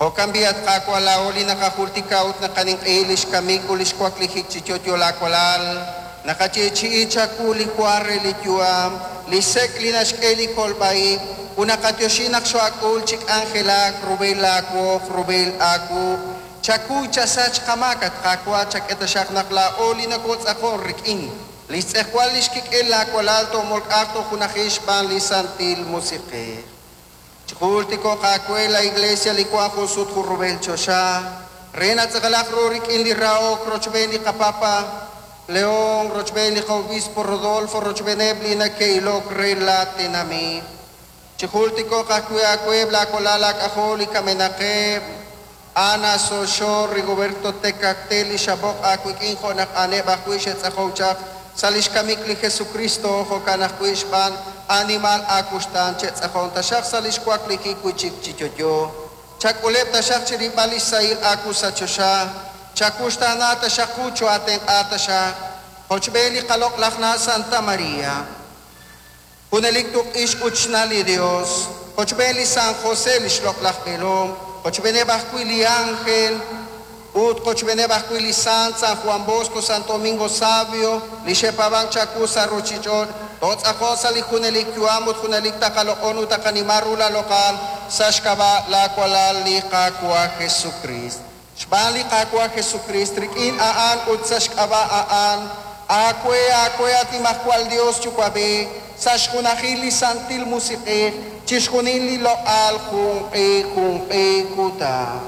Jo'kan b'i', at Qaawa', laa'o li naqajultika ut naqaninq'ehi li xkamik ut li xwaklijik chi yo'yo laawalal, naqayeechi'i chawu li wa re li yu'am, li sek' li naxk'e li kolb'a-ib', ut naqatyoxi naq xo'ak'ul chi k'anjelak rub'el laawoq, rub'el aawu. Chakuy chasach qamaak, at Qaawa', chak'e taxaq naq laa'o li nokotz'aqon rik'in li xtz'ejwal li xkik'el laawalal toomolk'aq tojunaji xb'aan li Santil Musiq'ej. Chijultiko'q aawe la Iglesia li wank jun sut jun rub'el choxa, re natz'aqalaq ru rik'in li rahok rochb'een li qapapa León, rochb'een li qa'obispo Rodolfo, rochb'eeneb' li nake'ilok re la tenamit. Chijultiko'q ajwi' aaweb' laawalal laak'ajol li kamenaqeb', Ana Soxo, Rigoberto Tecactel, li xaboq aawik'in jo' naq a'aneb' ajwi' xe'tz'aqow chaq sa' li xkamik li Jesucristo, jo'kan ajwi' xb'aan animal aakuxtaan che'tz'aqon taxaq sa' li xwaklijik wi' chik chi yo'yo. Chak'uleb' taxaq chirib'al li xsahil aawu sa' choxa, chakuxtaana taxaq qu cho'aatenq'a taxaq, qochb'een li qaloq'laj na' Santa María. Junelik tuq'ix ut xna' li Dios, qochb'een li San José li xloq'laj b'eelom, qochb'eeneb' ajwi' li ángel, ut qochb'eeneb' ajwi' li sant San Juan Bosco, Santo Domingo Savio, li xe'paab'ank chawu sa' ruuchich'och', tootz'aqon sa' li junelik yu'am ut junelik taqaloq'on ut taqanima ru la loq'al sa' xk'ab'a' laawalal li Qaawa' Jesucrist. Xb'aan li Qaawa' Jesucrist, rik'in a'an ut sa' xk'ab'a' a'an, aawe, aawe, at Nimajwal Dios Yuwa'b'ej, sa' xjunajil li Santil Musiq'ej, chixjunil li loq'al junq'e junq'e kutan.